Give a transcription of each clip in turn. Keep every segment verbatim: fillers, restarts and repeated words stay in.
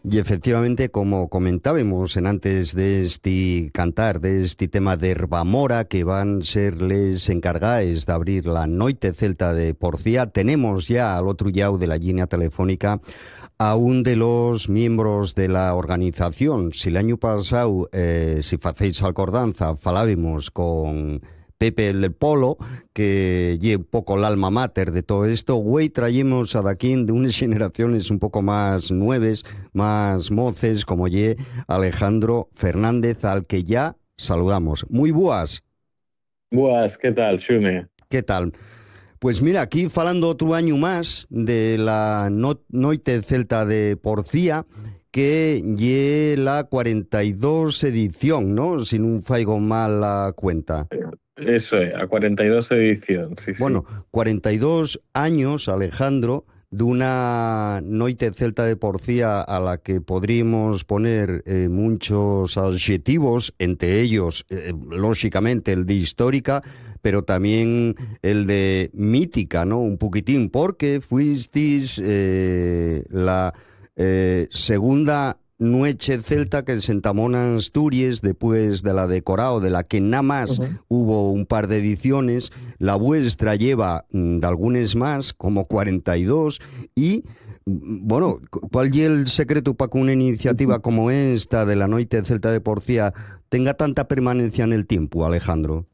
Y efectivamente, como comentábamos en antes de este cantar, de este tema de Herbamora, que van ser les encargáis de abrir la Noite Celta de Porcía, tenemos ya al otro lado de la línea telefónica a un de los miembros de la organización. Si el año pasado, eh, si facéis acordanza, falábamos con Pepe el del Polo, que lle un poco el alma mater de todo esto, güey, traemos a daquín de unas generaciones un poco más nueves, más moces, como lle Alejandro Fernández, al que ya saludamos. Muy buas. Buenas, ¿qué tal, Xune? ¿Qué tal? Pues mira, aquí falando otro año más de la no Noite Celta de Porcía, que lle la cuarenta y dos edición, ¿no? Si no faigo mal la cuenta. Eso es, a cuarenta y dos edición, sí, sí. Bueno, cuarenta y dos años, Alejandro, de una Noite Celta de Porcía a la que podríamos poner eh, muchos adjetivos, entre ellos, eh, lógicamente, el de histórica, pero también el de mítica, ¿no? Un poquitín, porque fuisteis eh, la eh, segunda Noche Celta que se entamó en Asturias después de la de Corao, de la que nada más Ujú. hubo un par de ediciones. La vuestra lleva mm, de algunas más, como cuarenta y dos, y mm, bueno, ¿cuál es el secreto para que una iniciativa como esta de la Noite Celta de Porcía tenga tanta permanencia en el tiempo, Alejandro?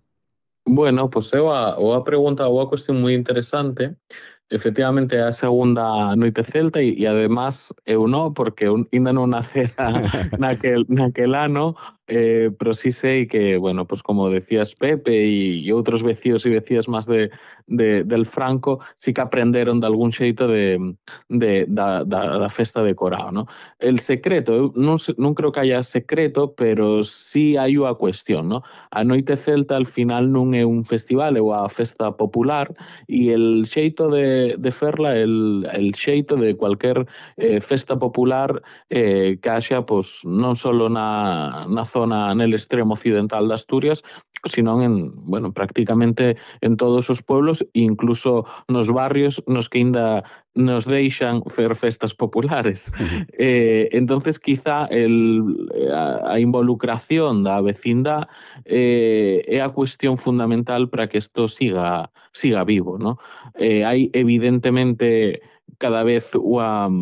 Bueno, pues é unha, unha pregunta, unha cuestión moi interesante. Efectivamente, é a segunda Noite Celta e, e además eu non, porque eu ainda non nacera naquel, naquel ano, eh, pero sí sei que, bueno, pues como decías Pepe e, e outros vecíos e vecías máis de, de, del Franco, sí que aprenderon de algún xeito de, de, da, da, da festa de Corao, ¿no? El secreto, eu non, se- non creo que haya secreto, pero sí hai unha cuestión, ¿no? A Noite Celta al final non é un festival, é unha festa popular e el xeito de, de ferla, el, el xeito de cualquier eh, festa popular eh, que haxa pues, non só na, na zona nel extremo occidental de Asturias, sino en, bueno, prácticamente en todos os pueblos, incluso nos barrios nos que ainda nos deixan fer festas populares. Eh, entonces, quizá el, a, a involucración da vecindad eh, é a cuestión fundamental para que isto siga, siga vivo, ¿no? Eh, hai evidentemente cada vez unha,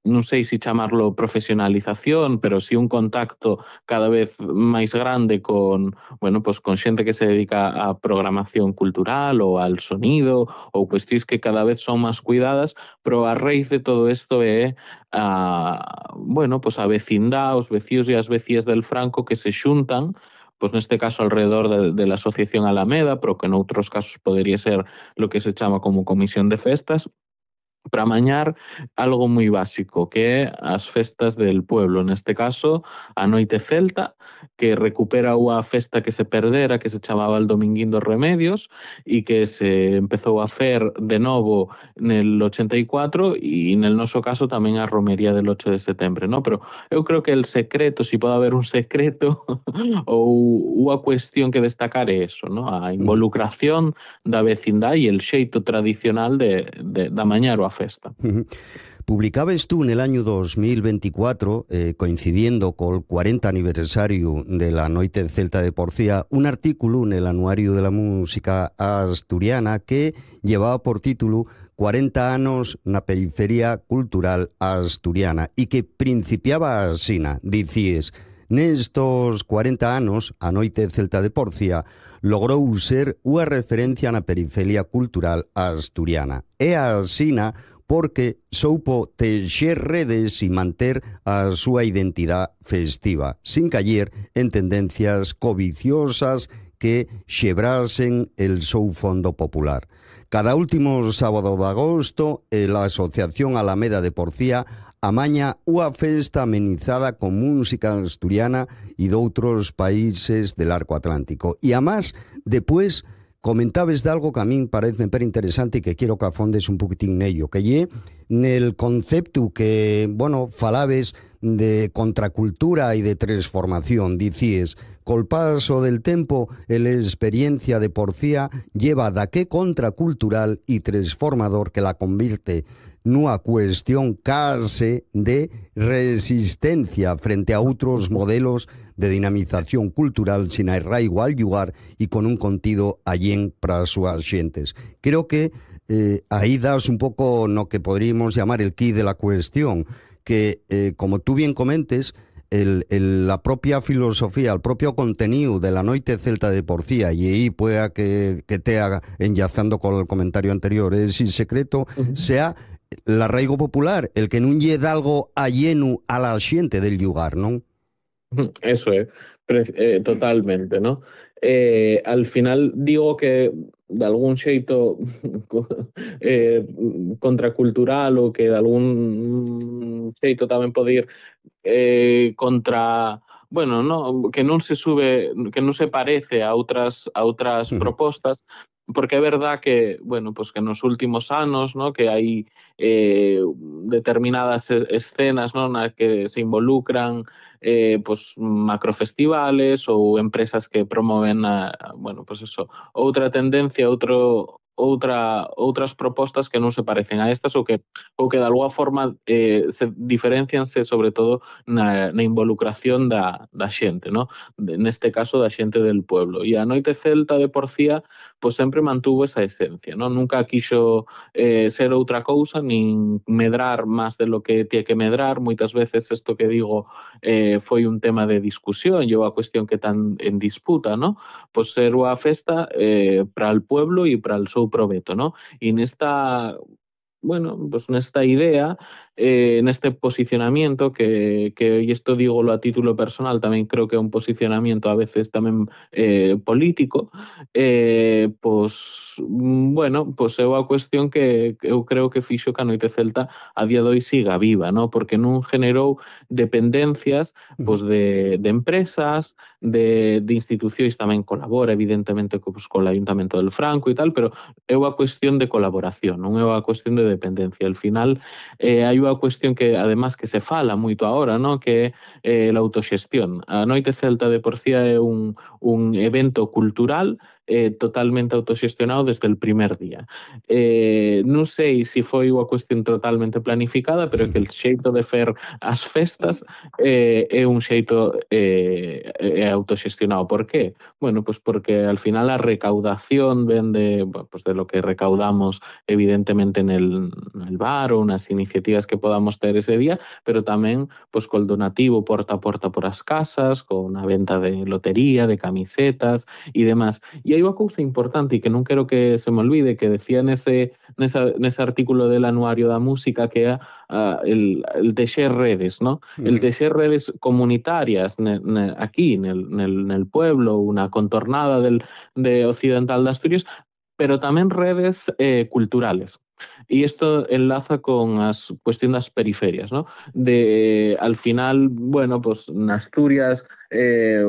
non sei se chamarlo profesionalización, pero sí un contacto cada vez máis grande con, bueno, pues con xente que se dedica a programación cultural ou al sonido ou cuestións que cada vez son máis cuidadas, pero a raíz de todo isto é a, bueno, pues a vecindad, os vecíos e as vecías del Franco que se xuntan, pues neste caso alrededor de, de la Asociación Alameda, pero que en outros casos podría ser lo que se chama como Comisión de Festas, para mañar algo moi básico, que é as festas del pueblo, neste caso a Noite Celta, que recupera unha festa que se perdera, que se chamaba el Dominguín dos Remedios, e que se empezou a fer de novo nel ochenta e cuatro, e nel noso caso tamén a romería del ocho de setembro, ¿no? Pero eu creo que el secreto, si pode haber un secreto ou unha cuestión que destacar é eso, ¿no? A involucración da vecindad e el xeito tradicional de, de, de amañar a festa. Publicabas tú en el año dos mil veinticuatro, eh, coincidiendo con el cuarenta aniversario de la Noite Celta de Porcía, un artículo en el Anuario de la Música Asturiana que llevaba por título cuarenta anos na periferia cultural asturiana y que principiaba asina, dicíes: nestos cuarenta anos, a Noite Celta de Porcía logrou ser unha referencia na periferia cultural asturiana. É asina porque soupo teixer redes e manter a súa identidade festiva, sin caer en tendencias coviciosas que xebrasen el seu fondo popular. Cada último sábado de agosto, la Asociación Alameda de Porcía amaña unha festa amenizada con música asturiana e de outros países del arco atlántico. E además, despois, comentabes de algo que a min parece per interesante e que quiero que afondes un poquitín nello, que lle nel concepto que, bueno, falabes de contracultura e de transformación. Dicíes, col paso del tempo, la experiencia de Porcía lleva da que contracultural y transformador que la convierte nunha cuestión case de resistencia frente a outros modelos de dinamización cultural sin arraigo al lugar e con un contido allén para as súas xentes. Creo que eh, aí das un pouco no que podríamos llamar el quid de la cuestión, que, eh, como tú bien comentes, El, el, la propia filosofía, el propio contenido de la noite celta de Porcía, y ahí pueda que, que te haga, enlazando con el comentario anterior, es sin secreto, uh-huh. sea el arraigo popular, el que non lle dá algo alleno a la xente del lugar, ¿non? Eso es, eh, totalmente, ¿no? Eh, al final digo que de algún xeito eh, contracultural ou que de algún xeito tamén pode ir eh, contra, bueno, no, que non se sube, que non se parece a outras a outras uh-huh. propostas, porque é verdad que, bueno, pues que nos últimos anos, ¿no? Que hai eh, determinadas escenas, ¿no? Na que se involucran eh, pues macrofestivales ou empresas que promoven a, bueno, pues eso, outra tendencia, outro outra outras propostas que non se parecen a estas ou que ou que de alguma forma eh, se diferencianse sobre todo na, na involucración da, da xente, ¿no? De, neste caso da xente del pueblo. E a noite celta de Porcía pues sempre mantuvo esa esencia, ¿no? Nunca quixo eh, ser outra cousa nin medrar máis de lo que tiene que medrar. Moitas veces isto que digo eh, foi un tema de discusión e unha cuestión que tan en disputa, ¿no? Pues ser unha festa eh, para el pueblo e para el seu proveto, ¿no? Y nesta, bueno, pues nesta idea, eh, neste posicionamiento que, que, y esto digo a título personal, tamén creo que é un posicionamiento a veces tamén eh, político, eh, pues, bueno, pues é unha cuestión que eu creo que fixo que a noite celta a día de hoy siga viva, ¿no? Porque non generou dependencias pues, de, de empresas, de, de institucións, tamén colabora evidentemente pues, con o Ayuntamento del Franco e tal, pero é unha cuestión de colaboración, non é unha cuestión de dependencia. Al final eh, hai unha cuestión que además que se fala moito agora, ¿no? Que é eh, a autoxestión. A noite celta de Porcía é un, un evento cultural eh, totalmente autoxestionado desde el primer día. Eh, non sei se foi unha cuestión totalmente planificada, pero que el xeito de fer as festas eh, é un xeito eh, é autoxestionado. Por qué? Bueno, pues porque al final a recaudación ven de, pues de lo que recaudamos evidentemente en el, en el bar ou nas iniciativas que podamos ter ese día, pero tamén pues col donativo porta a porta por as casas, con a venta de lotería, de camisetas e demás. E hai unha cousa importante e que non quero que se me olvide, que decía nese, nesa, nese artículo del Anuario da Música, que é uh, el, el teixer redes, ¿no? El teixer redes comunitarias ne, ne, aquí, nel, nel, nel pueblo, unha contornada del, de Occidental de Asturias, pero tamén redes eh, culturales. Y esto enlaza con las cuestión das periferias, ¿no? De, al final, bueno, pues en Asturias eh,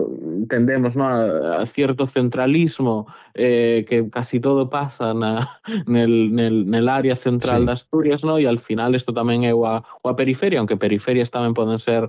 tendemos, ¿no? a, a cierto centralismo, eh, que casi todo pasa na, nel, nel, nel área central sí. de Asturias, ¿no? Y al final esto tamén é a, a periferia, aunque periferias tamén poden ser